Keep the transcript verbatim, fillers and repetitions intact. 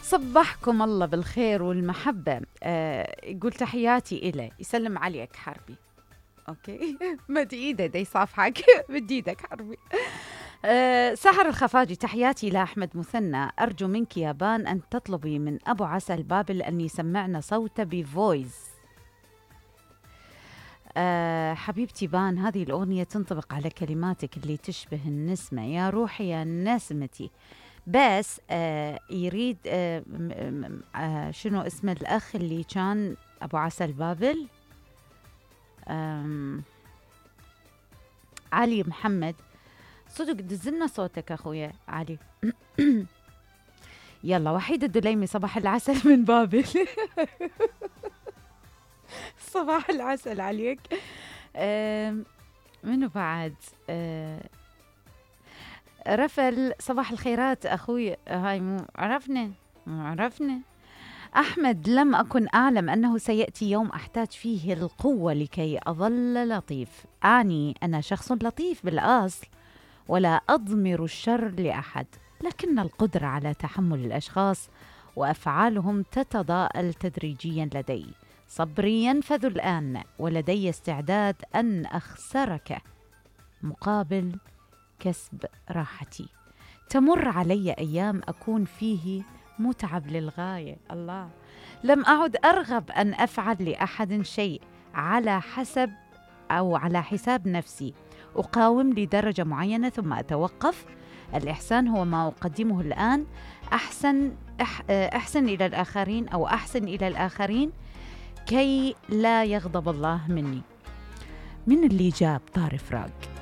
صبحكم الله بالخير والمحبة. آه يقول تحياتي إليه، يسلم عليك حربي. أوكي مد إيده دي صافحك مد إيدك حربي. آه سحر الخفاجي، تحياتي لأحمد مثنى. أرجو منك يا بان أن تطلبي من أبو عسل بابل أن يسمعنا صوته بفويس. أه حبيبتي بان، هذه الأغنية تنطبق على كلماتك اللي تشبه النسمة، يا روحي يا نسمتي. بس أه يريد أه أه شنو اسم الأخ اللي كان أبو عسل بابل؟ علي محمد. صدق دزلنا صوتك أخويا علي. يلا وحيد الدليمي، صباح العسل من بابل. صباح العسل عليك. أه منو بعد؟ أه رفل، صباح الخيرات أخوي. هاي مو عرفنا مو عرفنا. أحمد، لم أكن أعلم أنه سيأتي يوم أحتاج فيه القوة لكي أظل لطيف. أعني أنا شخص لطيف بالأصل ولا أضمر الشر لأحد، لكن القدرة على تحمل الأشخاص وأفعالهم تتضاءل تدريجيا لدي. صبري ينفذ الآن، ولدي استعداد أن أخسرك مقابل كسب راحتي. تمر علي أيام أكون فيه متعب للغاية. الله، لم أعد أرغب أن أفعل لأحد شيء على حسب أو على حساب نفسي. أقاوم لدرجة معينة ثم أتوقف. الإحسان هو ما أقدمه الآن. أحسن أحسن إلى الآخرين أو أحسن إلى الآخرين كي لا يغضب الله مني. من اللي جاب طارف راق؟